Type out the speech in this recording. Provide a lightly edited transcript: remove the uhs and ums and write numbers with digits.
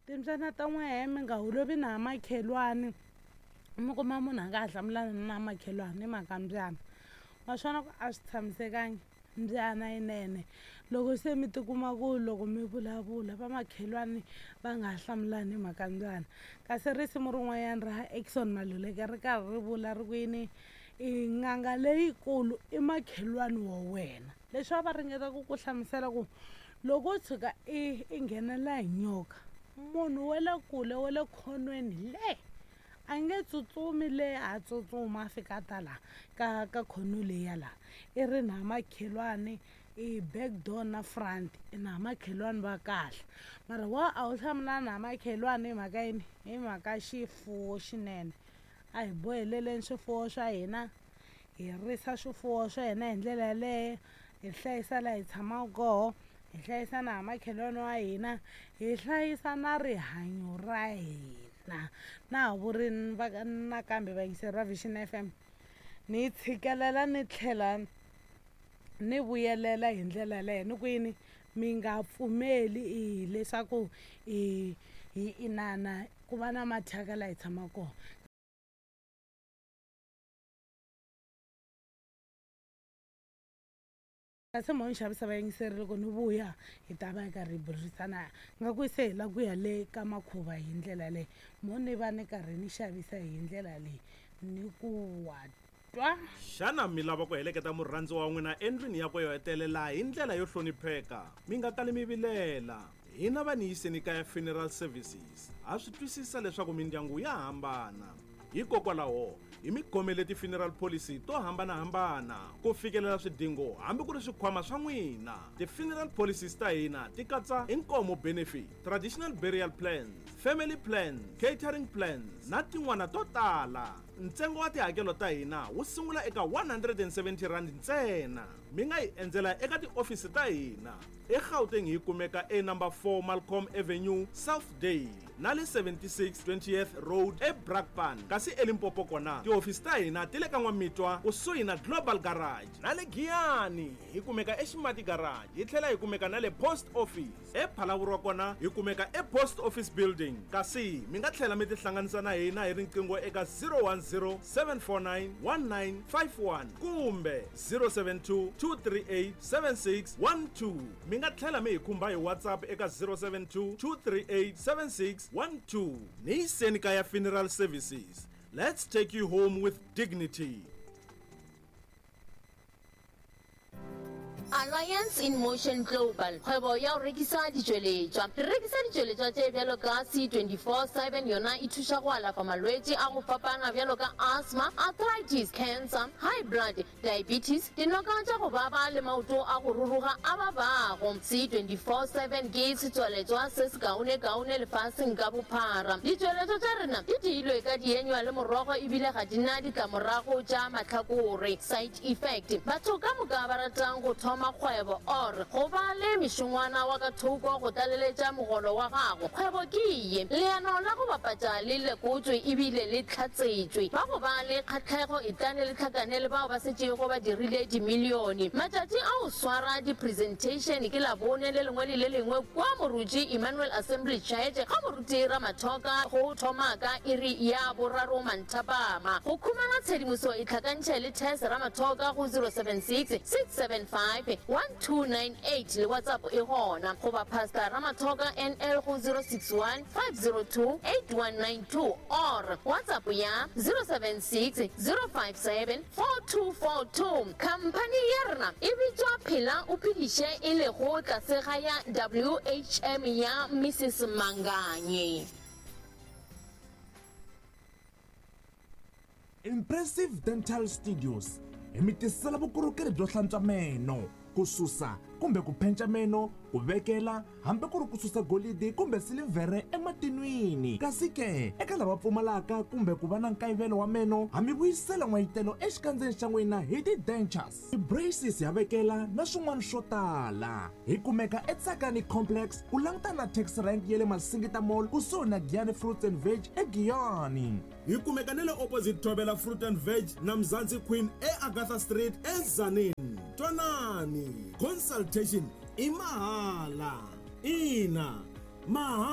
Timbyana ta n'wehe mi nga holovi na makhelwani, mi kuma munhu a nga ha hlamulani na makhelwani hi mhaka mbyana. Ma swi vona ku a swi tshamisekangi mbyana yinene loko se mi tikuma ku loko mi vulavula vamakhelwani va nga ha hlamulani hi mhaka mbyana. Kasi risimu rin'wanyana ra Eckson Maluleke ri karhi ri vula ri ku yini, i n'anga leyikulu i makhelwani wa wena. Leswi a va ringeta ku ku hlamusela ku loko wo tshuka i i nghenela hi nyoka munhu wa le kule wa le khonweni le a nge tsutsumi le a tsutsuma a fika a ta la ka ka khono leyi ya la i ri na makhelwani i back door na front i na makhelwani va kahle mara wa a wu hlamulani na makhelwani hi mhaka yini hi mhaka xifuwo xinene a hi boheleleni swifuwo swa hina hi risa swifuwo swa hina hi ndlela yaleyo hi hlayisa laha hi tshamaka koho hi hlayisa na makhelwani wa hina hi hlayisa na rihanyo ra hina na ha vuri nakambe vayingiseri va Vision F_M ni tshikelela ni tlhela ni vuyelela hi ndlela yaleyo ni ku yini mi nga pfumeli i leswaku i hi inana ku va na mathyaka laha hi tshamaka kona. Kasi mo ni xavisa vayingiseri loko ni vuya hi ta va hi karhi hi burisana nga ku se hi lava ku ya le ka makhuva hi ndlela leyi mo ni va ni karhi ni xavisa hi ndlela leyi ni ku wa twa. Xana mi lava ku heleketa murhandziwa wa n'wina endlwini yakwe yo hetelela hi ndlela yo hlonipheka? Mi nga kali mi vilela. Hina va Niyiseni Kaya Funeral Services ha swi twisisa leswaku mindyangu ya hambana. Hikokwalaho, hi mi khomele ti-funeral policy to hambana-hambana ku fikelela swidingo hambi ku ri swikhwama swa n'wina. Ti-funeral policies ta hina ti katsa Inkomo Benefit, Traditional Burial Plans, Family Plans, Catering Plans na tin'wana to tala. Ntsengo wa tihakelo ta hina wu sungula eka R170 ntsena. Mi nga hi endzela eka tiofisi ta hina eGauteng hi kumeka e number 4 Malcolm Avenue, Southdale na le 76 20th Road eBrakpan. Kasi eLimpopo kona tihofisi ta hina ti le ka N'wamitwa kusuhi na Global Garage na le Giyani hi kumeka eXimati Garage hi tlhela hi kumeka na le Post Office. EPhalaborwa kona hi kumeka ePost Office Building kasi mi nga tlhela mi tihlanganisa na hina hi riqingho eka 010 749 1951 kumbe 072 238 7612. Mi nga tlhela mi hi khumba hi WhatsApp eka 072 238 7612. Ni yiseni kaya Funeral Services. Let's take you home with dignity. Alliance in Motion Global, kgwebo ya go rekisa ditšweletšwa. Re rekisa ditšweletšwa tše bjalo ka C24/7, yona e thuša go alafa malwetši a go fapana bjalo ka asthma, arthritis, cancer, high blood, diabetes, dinoka tša go baba le maoto a go ruruga a babago. C24/7 ke setswaletšwa se sekaonekaone lefaseng ka bophara. Ditšweletšwa tša rena di diilwe ka dienywa le morogo ebile ga di na ditlamorago tša mahlakore, side effect. Batho ka moka ba ratang go thoma kgwebo or go ba le mešongwana wa ka thoko go tlaleletša mogolo wa gago, kgwebo ke ye. Leano la go bapatša le lekotšwe ebile le hlatsetšwe. Ba go ba le kgahlego etlane le hlakane le bao ba setšego ba dirile dimilione. Matšatši a go swara di-presentation ke Labone le lengwe le le lengwe kua Moruti Emmanuel Assembly Church ga Moruti Ramathoka go thoma ka iri ya boraro manthapama. Go khumana tshedimoso itlhakantšhe le Tess Ramathoka go 076 675 1298 le WhatsApp e gona, goba Pastor Ramathoka NL go 061 502 8192 or WhatsApp ya 076 057 4242. Khamphani ya rena e bitšwa Phela o Phediše e lego tlase ga ya WHM ya Mrs Manganye. Impressive Dental Studios hi mi tisela vukorhokeri byo hlantswa meno, ku susa kumbe ku phenca meno, ku vekela hambi ku ri ku susa golidi kumbe silivhere ematinwini. Kasi ke, eka lava pfumalaka kumbe ku va na nkayivelo wa meno, ha mi vuyisela n'wayitelo exikandzeni xa n'wina hi ti-dentures, ti-braces ha vekela na swin'wana swo tala. Hi kumeka eTsakani Complex ku langutana na taxi rank ya le Masingita Mall kusuhi na Giyani Fruits and Veg eGiyani. Hi kumeka ni le opposite Thobela Fruit and Veg na Mzansi Queen eAgatha Street eTzaneen. Twanani, consultation i mahala. Ina, mahala.